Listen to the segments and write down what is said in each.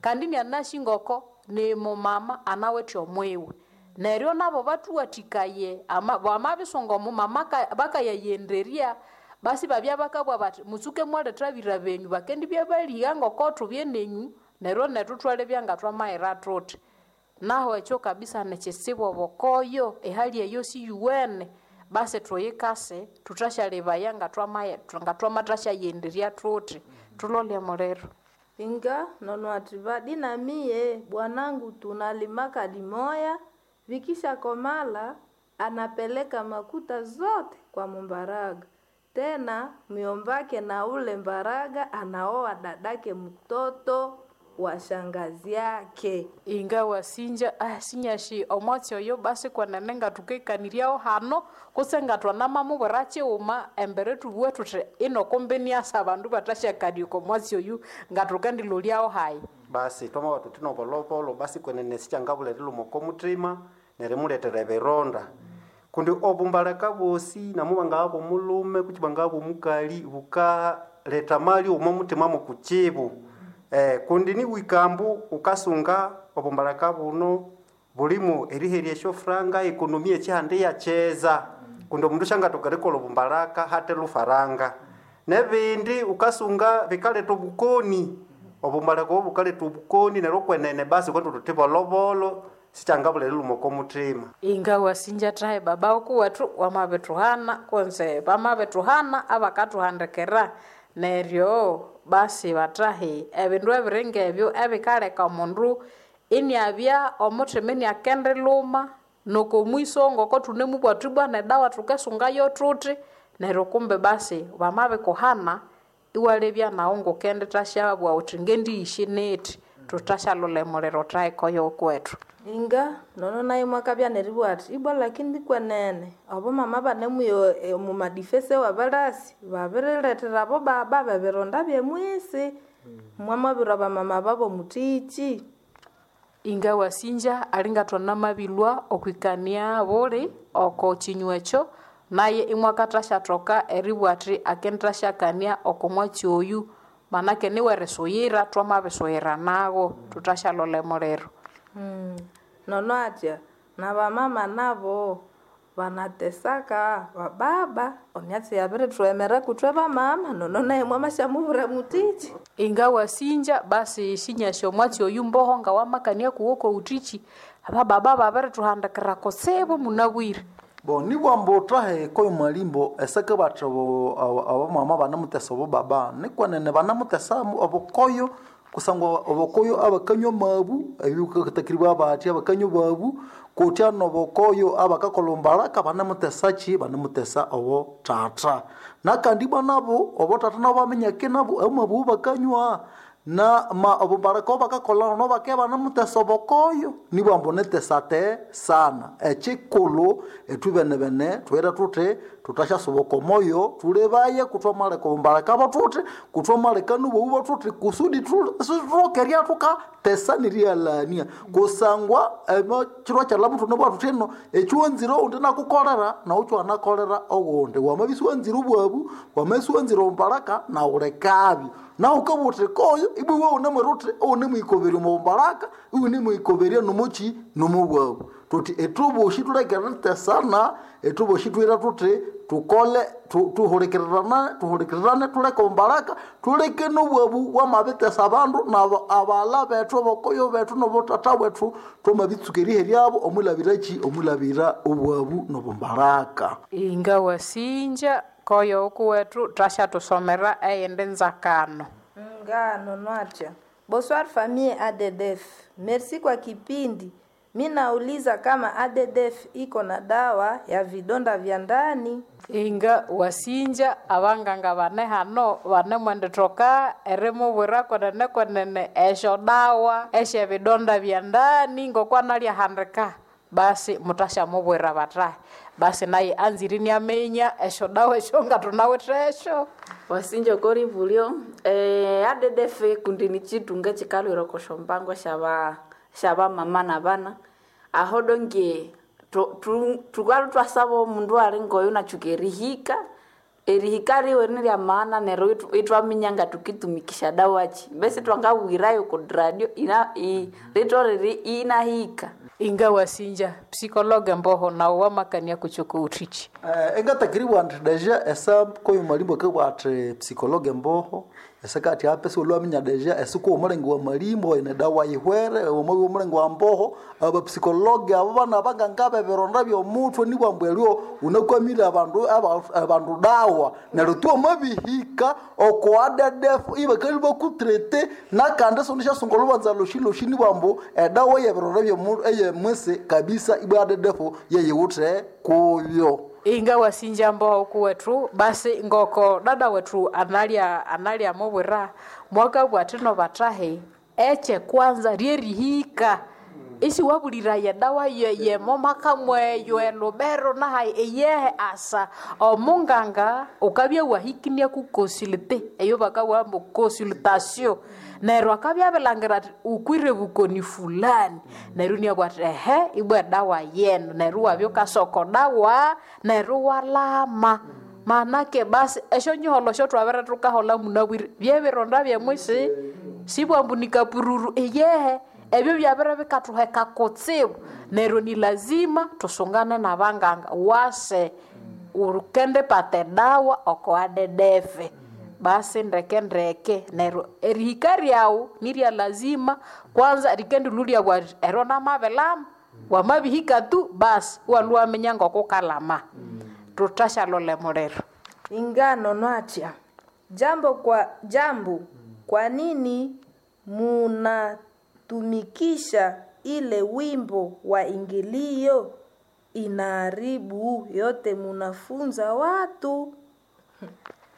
Kandi inianasi ngoko ni mumama anawithe omwiwe. Neryo nabo bathuwathikaye bamabisunga omumama bakayayenderya, basi babya bakabugha bathi mutsuke mwaletha abira benyu bakendibya baligha ngoko thubye nenyu neryo nethu thwalebya nga thwamayira thuthi. Naho ekyo kabisa nikitsibu obukoyo, ehali eyo siyuwene, basi thuyikase thuthasyalebaya nga thwamathasyayenderya thuthi, thulole omuliro. Inga nono ati vadi na mie bwanangu tunalimaka limoya, vikisha komala anapeleka makuta zote kwa mumbaraga. Tena myombake na ule mbaraga anaoa dadake mtoto wa shangazi yake. Inga wasinja sinyashi omwatsi oyo basi kwenene ngathukekaniryaho hano kutse ngatwanamamubwira kighuma embere thubughe thuthi ino kumbi niasa abandu bathasyakania oko mwatsi oyu ngathukendilolyaho hayi. Basi twamabugha thuthi nobolobolo basi kwenene sikyangabulha erilhuma oko muthima nerimuletera ebironda. Kundi obumbaleka bwosi namubangabya omulhume kutse bangabya omukali bukaletha amalyo omo muthima mukutsibu. Kundi niwikambu wukasunga obumbaleka buno bulimu eriherya esyofuranga, economy ekyihanda iyakyeza kundi omundu syangathoka erikolha obumbalaka hathe lufaranga. Nebindi wukasunga bikaletha obukoni, obumbaleka obo bukaletha obukoni neryo kwenene basi thukabugha thuthi bolobolo sikyangabulha erilhuma oko muthima. Inga wasinja thahi baba wukuwethu wamabithuhana kunze bamabithuhana abakathuhandikira neryo basi bathahi ebindu ebiri ngebyo ebikaleka omundu iniabya omuthima iniakendilhuma noko mwiso ngoko thunemubugha thuthi bwana edawa thukesungayo thuthi neryo kumbe basi bamabikuhana iwalebya naghu ngukendithasyabugha wuthi ngendiyisye nethi, thuthashyalolha emuliro thahi koyo wukuwethu. Inga nono naye mwakabya neribugha athi ibwa lakini kwenene abomama banemuya omumadifese wabalasi babirilethera abobaba bebironda byemwisi. Mwamabirwa abamama babo muthiki. Inga wasinja alingathwanamabilhwa okwikania buli oko kinywa ekyo naye imwakathasyathoka eribugha athi akendithasyakania oko mwatsi oyu manake niwerisuyira thwamabisuyira nagho thuthasyalolha emuliro. Nono atya nabamama nabo banatesaka bababa emyatsi yabirithughemera kuthwe bamama nono naye mwamasyamubwira muthiki. Inga wasinja basi sinyasi omwatsi oyu mboho ngawamakania kuwo kowuthiki, abababa babirithuhandikira kutsibu munabwire. Bo nibwamba uthahe koyo mwalimbo eseke bathi abamama banemutesa obubaba nikwenene banemutesa obukoyo kusangwa obukoyo abakanywa amabu ebikatakiribwa bathi abakanywa babu kutya nobukoyo abakakolha ombalaka banemutesa ki banemutesa obuthatha nakandi ibwa nabo obuthatha nabo baminyake nabo amabu bakanywa na ma obumbalaka obakakolha no bakabya banemutesa obukoyo nibwamba nitesa sana ekikulhu ithwe benebene thuhire thuthi thuthasyasoboka omoyo thulebaye kuthwamaleka obumbalaka bwathuthi kuthwamaleka nobobu bwathuthi kusudi sithuthoke eribya thukatesa nerighalania kusangwa ekiro kyalhamo thunabugha thuthi ino ekyiwanzire owundi inakukolera nawu ikiwanakolera owundi wamabya isiwanzire obwabu wamabya isiwanzire obumbalaka nawu lekabyo nawu wukabugha wuthi koyo ibwa iwe wunemwira wuthi iwunemuyikoberya omo bumbalaka iwunemuyikoberya nomukyi nomobwabu thuthi ithwebosi thuleke eritesana ithwebosi thwira thuthi thukole thuhulikirirane thuhulikirirane thuleke obumbalaka thuleke nobwabu bwamabitesa abandu nabo abaghalha bethu abakoyo bethu nobuthatha bwethu thwamabitsuka eriheryabo omwilhabirakyi omwilhabira obwabu nobumbalaka. Inga wasinja koyo wukuwethu thasyathusomera eyindi nzakano. Nga nono atya bonsoir famille ADDF merci kwa kipindi mi nauliza kama ADDF iko na dawa ya vidonda vya ndani. Inga wasinja abanganga bane hano banemwendithoka erimubwira kwenene kwenene esyo dawa esyebidonda bya ndani ngokwanalyahandika basi muthasyamubwira bathahi basi naye anzire iniaminya esyo dawa esyo ngathunawithe esyo. Wasinja okoribulyo ADDF kundi ni kitunga ekikalhwira oko syombango syabamama nabana aho donge thukalhwa ithwasaba omundu ali ngoyu inatsuka erihika Erihika riwe ni rya maana neryo itwaminya nga tukitumikisha dawachi mbesi twangabwirayo ku radio ina ritolere inahika. Inga wasinja psikologe mboho nawo wamakania kuchoko utichi. Engatakiriwa nti deja esa koyo malimbo akabugha athi psikologe mboho esekati ape siwulwaminya deja esikuwa omulenge wa malimbo ene dawa yihwere omwabya omulenge wa mboho abapsikologe abo bana bangangaba ebironda byomuthwe nibwambu eryo unakwamire abandu abandu dawa neryo tu omabihika oko ADDF ibakali bakutrete nakandi siwundisyasunga olubanza loshi loshi nibwambu edawa yebironda byomu eyemwisi kabisa ibwa ADDF yeyiwuthe kuyo. Inga wasinja mboho kuwethu basi ngoko dada wetu analya analya mubwira mwaka bwatino batahe eche kwanza ryerihika isi wabulira yedawa yemo makamweyo elubero nahayi eyehe asa omunganga ukabya wahikinia ku consulte eyo bakawambo consultation neryo akabya abilangira ati ukwire bukoni fulani neryo niabwa ati ehe ibwa edawa yenu neryo wabya ukasoko dawa neryo walama manake basi esyo nyiholo syotwabere tukahola munabwire byebironda byemwisi sibwambunika pururu eyehe ebyo byabere bikathuheka kutsibu neryo ni lazima tusungane nabanganga wase ukendipata edawa oko adedefe basi ndeke ndeke neryo erihika ryawu nirya lazima kwanza rikendilulya bwati ero namabilama wamabihika tu basi iwalwa waminya ngokukalama. Tutashalole muliro. Ingano nwatya jambo kwa jambo, kwa nini munatumikisha ile wimbo wa ingilio? Inaharibu yote munafunza watu.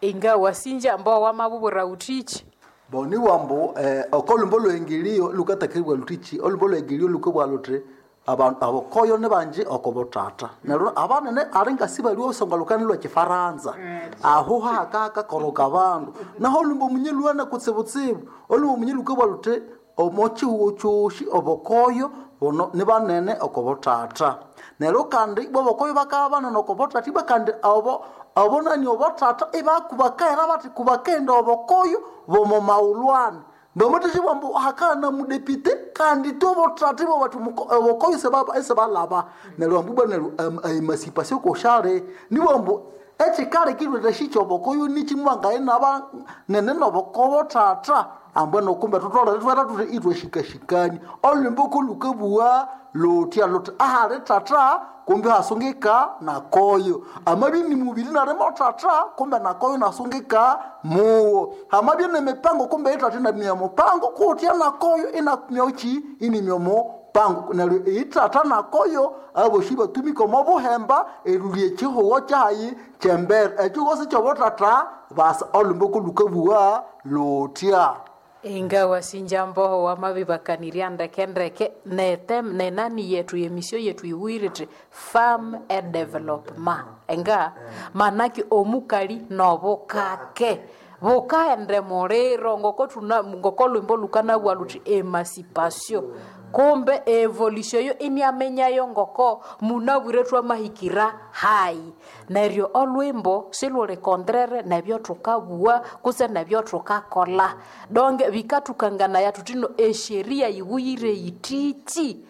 Inga wasinja ambao wamabubura utichi Boni wambo okolumbo lwengilio lukatakiribwa lutichi olumbo lwengilio lukabwa luthi abantu abokoyo nibanji okobotata neryo abanene ali ngasi baliwo songa lukani lwa kifaransa aho hakakakoroka abandu naho olumbo munye lwana kutsibutsibu olumbo munye lukabwa luthi omo chihugo kyosi obokoyo bono nibanene okobotata neryo kandi ibwa obokoyo bakaba banene okobotata ibwa kandi abo abonani obotata ibakubakaira bathi kubakaenda obokoyo bomo maulwana ndomuthixi bwambu hakana mudepite kandi tobotata ibo bathi obokoyo sebalaba neryo ambu bwa neryo emancipation koshale nibwambu ekikali kilwete shikyobokoyo nikimwangaye naba nene nobokobotata ambwe nokumbe tutolere twera tuthi itweshikashikani olwimbo kolukabuwa lutya luthi ahali tata kumbe hasungika nakoyo amabye ni mubiri narimo tata kumbe nakoyo nasungika muwo amabye ni mipango kumbe itata inamya mupango kutya nakoyo inamyochi inimyomo pango neryo itata nakoyo aboshi batumika omo buhemba erulya ekihugo kyayi kyembere ekihugo sikyobotata basa olwimbo kolukabuwa lutya. Inga wasinja mboho wamabibakanirya ndeke ndeke netem nenani yetu yemisio yetu iwirite farm and development enga manaki omukali nobukake bukaende muliro ngoko tuna ngoko lwimbo lukanabwa luthi emancipation kumbe evolution yo iniamenyayo ngoko munabwire twamahikira hayi neryo olwimbo siluli contraire nebyo thukabugha kutse nebyo thukakola donge bikathukanganaya thuthino esheria yiwuyire yithithi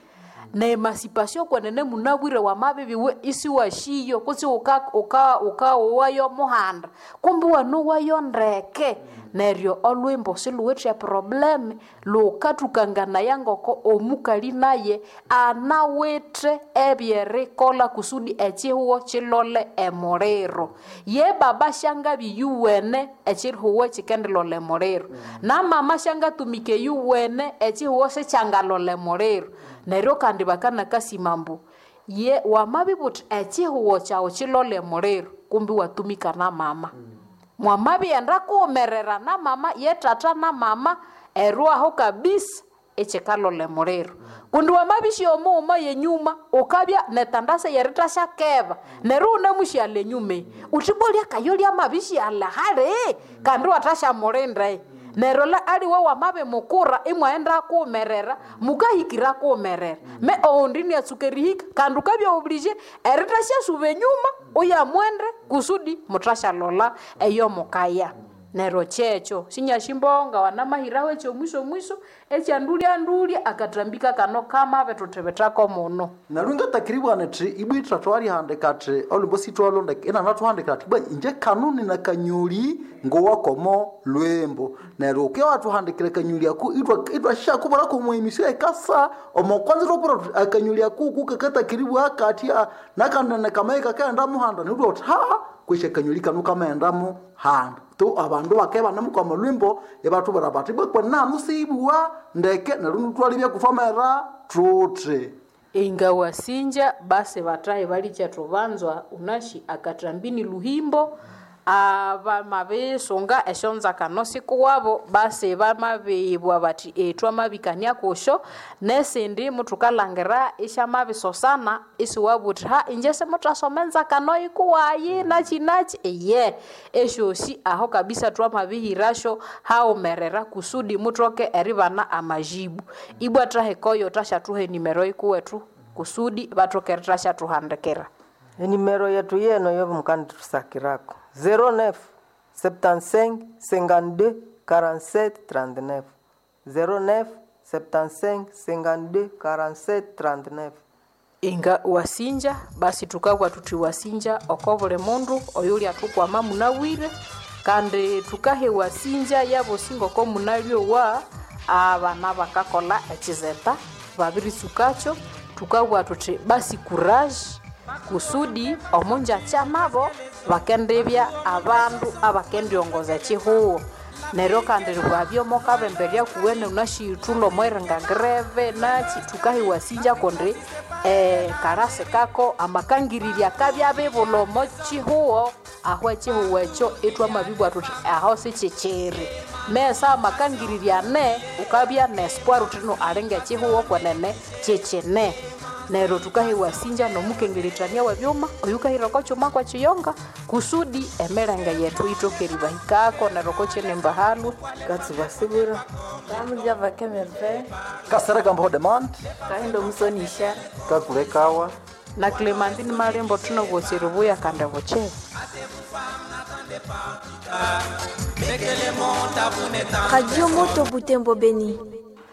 neemancipation kwenene munabwire wamabibiwe isiwashiyo kutse ukaowayo muhanda kumbi wanowayo ndeke neryo olwimbo siluwithe eproblem lukathukanganaya ngoko omukali naye anawithe ebyerikolha kusudi ekihugo kilole emuliro ye baba syangabi yuwene ekihugo kikendilolha emuliro namama syangatumika eyuwene ekihugo sikyangalola emuliro neryo kandi bakanakasima ambu ye wamabibuthi ekihugo kyawu kilole emuliro kumbi watumika na mama. Mwamabighenda kuwumerera na mama ye tata na mama erwaho kabisa ekikalola emuliro kundi wamabisya omughuma yenyuma ukabya netandasa yerithasya-keba neryo wunemusyalha enyuma eyi uthi bwa lyakayo lyamabisyalha hali kandi wathasyamulinda eyi. Neryo la aliwe wamabimukura imwaghenda kuwumerera, mukahikira kuwumerera. Me owundi iniatsuka erihika kandi wukabya oblige erithashyasuba enyuma uyamwende kusudi muthasyalolha eyo mukaya. Neryo kyekyo sinyasyimbonga wanamahiraho ekyomwiso mwiso ekyandulya-ndulya akathambika kano kamabithuthibithako muno. Neryo ngatakiribwana thi ibwa ithathwarihandika athi olhwimbo sithwalondeka inanathuhandikira athi ibwa inje kanu nina kanyoli ngowakomo lwimbo. Neryo ukibya wathuhandikira akanyoli ako itwasyakubwira komwemisyo ekasa omo kwanza ithwakubwira thuthi akanyoli ako kukakatakiribwa kathya nakandi kamayi kakaghenda muhanda neryo itwabugha thuthi ha kwesi akanyoli kanu kamaghenda muhanda. Tu abandu bakabya ibanemukwama olhwimbo ibathubwira bathi ibwa kwenene siibugha ndeke neryo ithwalebya kuthwamera thuthi. Ingawasinja basi bathahi balikya thubanzwa unasi akathambi ni luhimbo, abamabisunga esyonzakano sikuwabo basi bamabibugha bathi thwamabikania kusyo, nesindi muthukalhangira isyamabisosana isiwabugha wuthi ha inje simuthasoma enzakano yikuwayi nakyi nakyi iye. Esyosi aho kabisa twamabihirasyo haghumerera kusudi muthoke eribana amajibu. Ibwa thahikayo thasyathuha enimero yikuwethu kusudi bathoke erithashyathuhandikira. Enimero yetu yeno yomukandithusakirako 09 75 52 47 39 09 75 52 47 39. Inga wasinja basi thukabugha thuthi wasinja oko buli mundu oyulyathukwama munabwire kandi thukaha ewasinja yabosi ngoko munalyowa abana bakakolha ekyizeta babiritsukakyo. Thukabugha thuthi basi courage kusudi omunjakya nabo bakendibya abandu abakendyongoza ekyihugho. Neryo kandi bwabya mukabemberya kuwene unasiyithulha omweringa greve nakyi thukaha ewasinja kundi karasi kako amakangirirya akabya abibulha omo kyihugho aho ekyihugho ekyo ithwamabibugha thuthi aho sikyikyiri. Mesa amakangirirya ane wukabya nespoir wuthi no alinga ekyihugho kwenene kyikyine. Neryo thukaha ewasinja nomukengerethania webyuma oyukahira oko kyuma kwekiyonga kusudi emilenge yethu yithoke eribahikako neryo okwakyinimba halwe. Katsubasibwira. Kamulyava Kemerve. Kasereka Mbaho Demand. Kahindo Musonisha. Kakulekawa. Na Clementine Malembo thunabwosi ribuya kandi bukyebe. Radio Moto Butembo Beni.